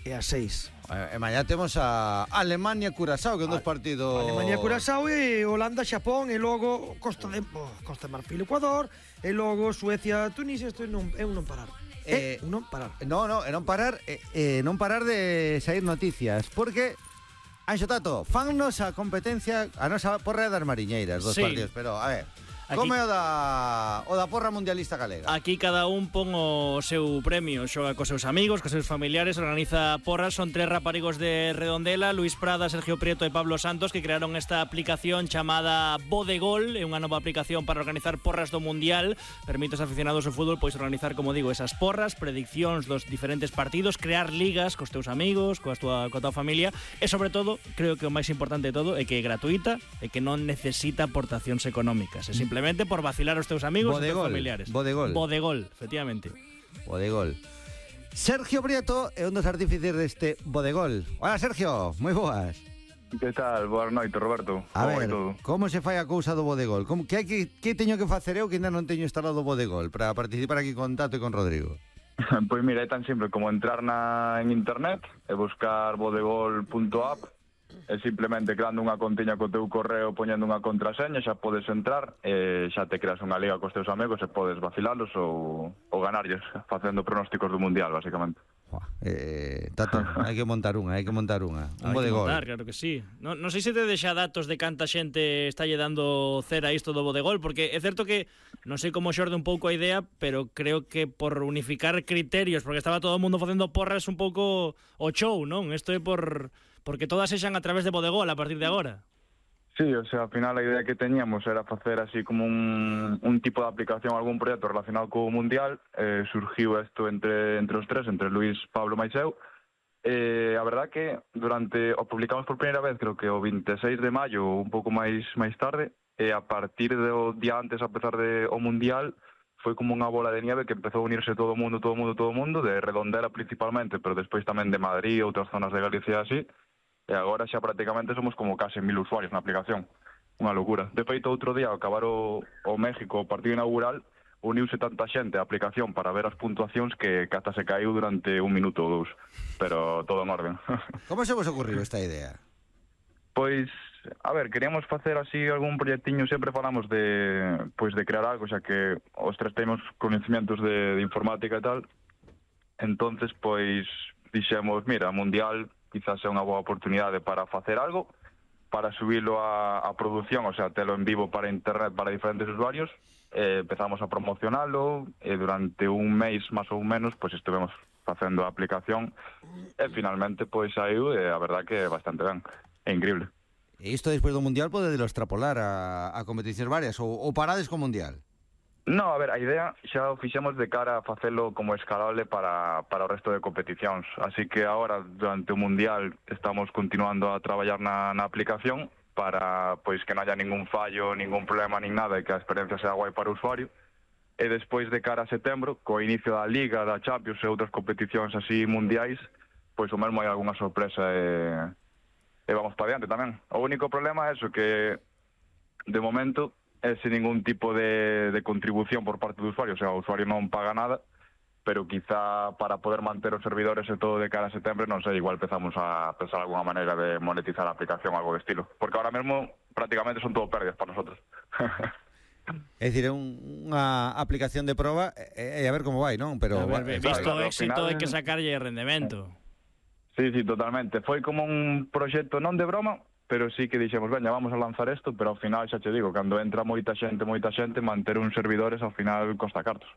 e as 6. E mañá temos a Alemania-Curazao, que é un dos partidos... Alemania-Curazao e Holanda-Xapón, e logo Costa de Marfil-Ecuador, e logo Suecia-Tunisia. Isto é un non parar. Un non parar. Non parar, non parar de sair noticias, porque... Anxo Tato, fannos a competencia, a nosa porra das mariñeiras dos partidos, pero a ver... Aquí, como é o da porra mundialista galega? Aquí cada un pon o seu premio, xoga cos seus amigos, cos seus familiares, organiza porras. Son 3 raparigos de Redondela, Luis Prada, Sergio Prieto e Pablo Santos, que crearon esta aplicación chamada Bodegol. É unha nova aplicación para organizar porras do Mundial. Permite aos aficionados ao fútbol pois organizar, como digo, esas porras, prediccións dos diferentes partidos, crear ligas cos teus amigos, coa tua familia, e sobre todo, creo que o máis importante de todo é que é gratuita e que non necesita aportacións económicas. É simplemente por vacilar aos teus amigos e teus familiares. Bodegol, efectivamente. Bodegol. Sergio Prieto é un dos artífices deste Bodegol. Hola, Sergio, moi boas. Que tal? Boas noites, Roberto. A ver, como se fai a cousa do Bodegol? Que teño que facer eu que ainda non teño instalado o Bodegol para participar aquí con Tato e con Rodrigo? Pois mira, é tan simple como entrar en internet e buscar bodegol.app. É simplemente creando unha contiña co teu correo, poñendo unha contraseña, xa podes entrar e xa te creas unha liga cos teus amigos e podes vacilalos ou ganarlles, facendo pronósticos do Mundial, basicamente. Tato, hai que montar unha. Un Bodegol. Claro que sí. Non sei se te deixa datos de canta xente estalle dando cera a isto do Bodegol, porque é certo que non sei como xorde un pouco a idea, pero creo que por unificar criterios, porque estaba todo o mundo facendo porras un pouco o show, non? Isto é porque todas sexan a través de Bodegol a partir de agora. Sí, o sea, ao final a idea que teñíamos era facer así como un tipo de aplicación, algún proxecto relacionado co Mundial. Surgiu isto entre os tres, entre Luis, Pablo e eu. A verdad que o publicamos por primeira vez, creo que o 26 de maio, un pouco máis tarde, e a partir do día antes, a pesar de o Mundial, foi como unha bola de nieve que empezou a unirse todo o mundo, de Redondela principalmente, pero despois tamén de Madrid, outras zonas de Galicia así. E agora xa prácticamente somos como case 1000 usuarios na aplicación. Unha locura. De feito, outro día, ao acabar o México, o partido inaugural, uniuse tanta xente á aplicación para ver as puntuacións que ata se caiu durante 1 minuto ou 2. Pero todo en orden. Como se vos ocurriu esta idea? Pois, a ver, queríamos facer así algún proxectiño, sempre falamos de crear algo, xa que os tres temos conhecimentos de informática e tal. Entonces, pois, dixemos, mira, Mundial quizás é unha boa oportunidade para facer algo, para subilo a produción, o sea, telo en vivo para internet para diferentes usuarios. Empezamos a promocionalo e durante un mes máis ou menos pois estivemos facendo a aplicación e finalmente pois saiu e a verdad que é bastante ben, é increíble. E isto despois do Mundial podedelo extrapolar a competicións varias ou parades co Mundial? No, a ver, a idea xa o fixemos de cara a facelo como escalable para o resto de competicións. Así que agora, durante o Mundial, estamos continuando a traballar na aplicación para pois que non haya ningún fallo, ningún problema, nin nada, e que a experiencia sea guai para o usuario. E despois de cara a setembro, co inicio da Liga, da Champions e outras competicións así mundiais, pois o mesmo hai algunha sorpresa e vamos para diante tamén. O único problema é eso, que de momento é sin ningún tipo de contribución por parte do usuario, o sea, o usuario non paga nada, pero quizá para poder manter os servidores e todo de cara a setembro, non sei, igual empezamos a pensar alguna maneira de monetizar a aplicación, algo de estilo, porque ahora mesmo prácticamente son todo pérdidas para nosotros. É dicir, é unha aplicación de proba e a ver como vai, non? Pero visto o éxito hai que sacarlle rendemento. Sí, totalmente. Foi como un proxecto non de broma, pero sí que dixemos, veña, vamos a lanzar isto, pero ao final, xa te digo, cando entra moita xente, manter uns servidores ao final costa cartos.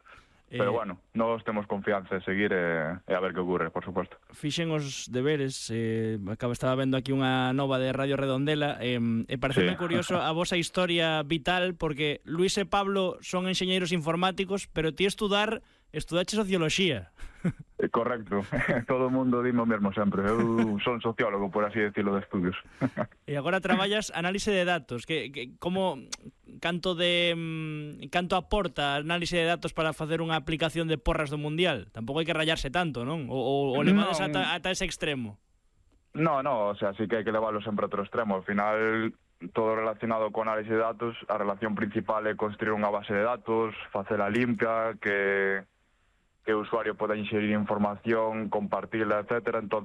Pero bueno, nós temos confianza de seguir e a ver que ocurre, por suposto. Fixen os deberes, estaba vendo aquí unha nova de Radio Redondela, e pareceme curioso a vosa historia vital, porque Luis e Pablo son enxeñeiros informáticos, pero ti estudache socioloxía. Correcto, todo o mundo dime o mesmo sempre. Eu son sociólogo, por así decirlo, de estudios. E agora traballas análise de datos. Canto aporta a análise de datos para facer unha aplicación de porras do Mundial? Tampouco hai que rayarse tanto, non? O levades ata ese extremo? No, o sea, sí que hai que leválo sempre a outro extremo. Ao final, todo relacionado con análise de datos, a relación principal é construir unha base de datos, facela limpia, que o usuario poda inserir información, compartirla, etcétera. Entón,